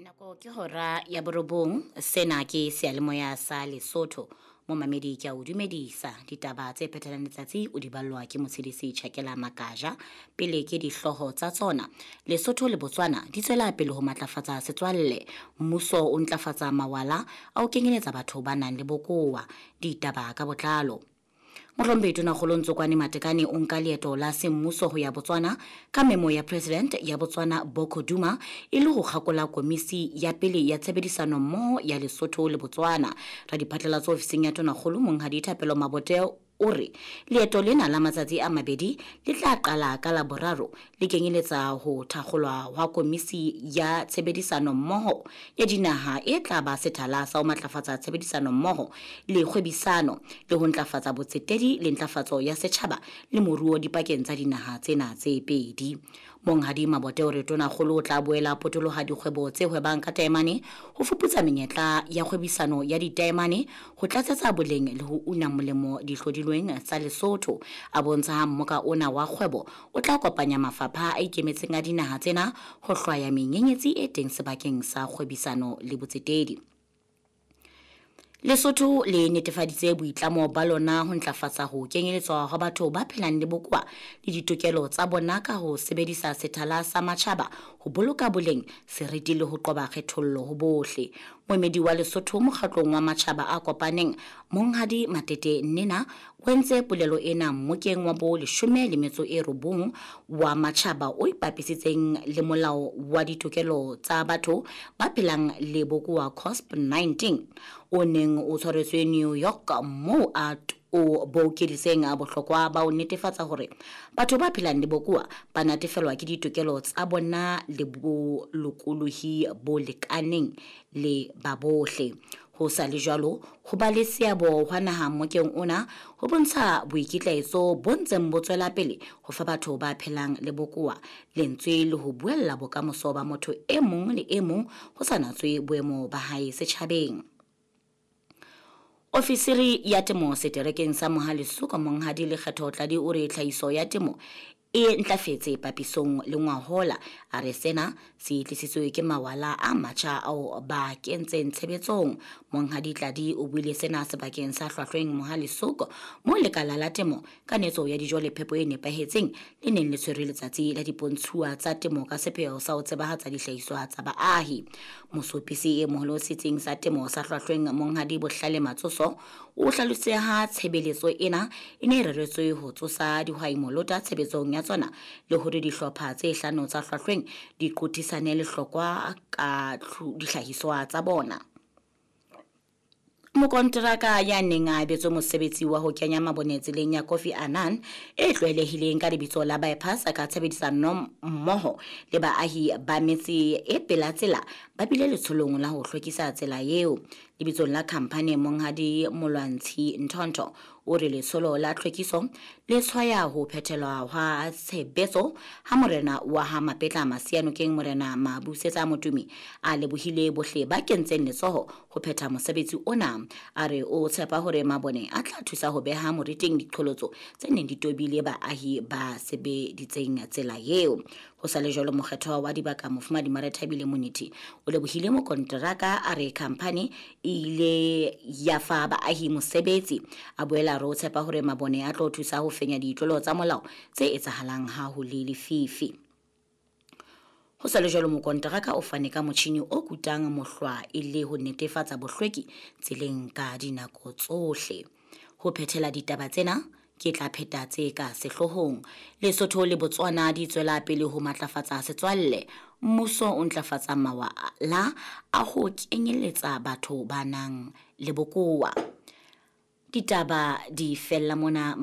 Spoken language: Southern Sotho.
Nako ke hora ya borobong, sena ke seyalemoya sa Lesotho. Momamedi ke a o dumedisa. Ditaba tse phethelang letsatsi o di ballwa ke Motshedisi Tjhakela Makaja. Pele ke dihlooho tsa tsona. Lesotho le Botswana di tswela pele ho matlafatsa setswalle. Mmuso o ntlafatsa mawala a ho kenyeletsa batho ba nang le bokowa. Ditaba ka botlalo. Mohlomphehi Tonakgolo Ntsokwane Matekane o nka leeto la semmuso ho ya Botswana ka memo ya President ya Botswana Boko Duma e le ho kgakola komisi ya pele ya tshebedisano mmoho ya Lesotho le Botswana. Radiphatlalatso ofising ya Tonakgolo Monghadi Thapelo Mabote o re leeto lena la matsatsi a mabedi le tla qala ka Laboraro le kenyeletsa ho thakgolwa hwa komisi ya tshebedisano mmoho ya dinaha e tla ba sethala sa ho matlafatsa tshebedisano mmoho le kgwebisano le ho ntlafatsa botsetedi le ntlafatso ya setjhaba le moruo dipakeng tsa dinaha tsena tse pedi. Monghadi Mabote o re Tonakgolo o tla boela potoloha dikgwebo tse hwebang ka taemane ho fuputsa menyetla ya kgwebisano ya ditaemane ho tlatsetsa boleng le ho una molemo dihlodilweng tsa Lesotho. A bontsha ha mmoka ona wa kgwebo o tla kopanya mafapha a ikemetseng a dinaha tsena ho hlwaya menyenyetsi e teng sebakeng sa kgwebisano le botsetedi. Lesotho le netefaditse boitlamo ba lona ho ntlafatsa ho kenyeletswa hwa batho ba phelang le bokowa le ditokelo tsa bona ka ho sebedisa sethala sa matjhaba ho boloka boleng, seriti le ho qoba kgethollo ho bohle. Moemedi wa Lesotho mokgatlong wa matjhaba a kopaneng, Monghadi Matete Nnena, o entse polelo ena mmokeng wa bo 19 wa matjhaba o ipapisitseng le molao wa ditokelo tsa batho ba phelang le bokowa COSP 19 o neng o tshwaretswe New York moo a o bokeditseng bohlokwa ba ho netefatsa hore batho ba phelang le bokowa ba natefelwa ke ditokelo tsa bona le bolokolohi bo lekaneng le ba bohle. Ho sa le jwalo, ho ba le seabo hwa naha mmokeng ona ho bontsha boikitlaetso bo ntseng bo tswela pele ho fa batho ba phelang le bokowa lentswe le ho buella bokamoso ba motho e mong le e mong ho sa natswe boemo ba hae setjhabeng. Ofisiri ya temo seterekeng sa Mohalesuka Monghadi Lekgetho Tladi o re tlhahiso ya temo e ntlafetse papisong le ngwahola. A re sena se tlisitswe ke mawala a matjha ao ba kentseng tshebetsong. Monghadi Tladi o buile sena sebakeng sa Hlwahlweng Mohalesuka moo lekala la temo ka netso ya dijo le phepo e nepahetseng le neng le tshwere letsatsi la dipontshuwa tsa temo ka sepheo sa ho tsebahatsa dihlahiswa tsa baahi. Mosopisi e moholo setsing sa temo sa Hlwahlweng Monghadi Bohlale Matsoso o hlalositse ha tshebeletso ena e ne e reretswe ho tsosa dihwai molota tshebetsong ya tsona le hore dihlopha tse hlano tsa Hlwahlweng di qothisane lehlokwa ka dihlahiswa tsa bona. Mokonteraka ya neng a abetswe mosebetsi wa ho kenya mabone tseleng ya Kofi Annan e tlwaelehileng ka lebitso la bypass ka tshebedisano mmoho le baahi ba metse e pela tsela ba bile letsholong la ho hlwekisa tsela eo. Lebitsong la khamphani Monghadi Molwantshi Nthonto o re letsholo la tlhwekiso le tshwaya ho phethelwa hwa tshebetso ha morena wa ha Mapetla Masianokeng Morena Mabusetsa Motumi a lebohile bohle ba kentseng letsoho ho phetha mosebetsi ona. A re o tshepa hore mabone a tla thusa ho beha moriting diqholotso tse neng di tobile baahi ba sebeditseng tsela eo. Ho sa le jwalo, mokgethwa wa dibaka Mofumadi Marethabile Monithi o lebohile mokonteraka, a re khamphani e ile ya fa baahi mosebetsi. A boela re o tshepa hore mabone a tlo thusa ho fenya ditlolo tsa molao tse etsahalang ha ho le lefifi. Ho sa le jwalo, mokonteraka o fane ka motjhini o kutang mohlwa e le ho netefatsa bohlweki tseleng ka dinako tsohle. Ho phethela ditaba tsena, ke tla pheta tse ka sehloohong. Lesotho le Botswana di tswela pele ho matlafatsa setswalle. Mmuso o ntlafatsa mawala a ho kenyeletsa batho ba nang le bokowa. Ditaba di fella mona.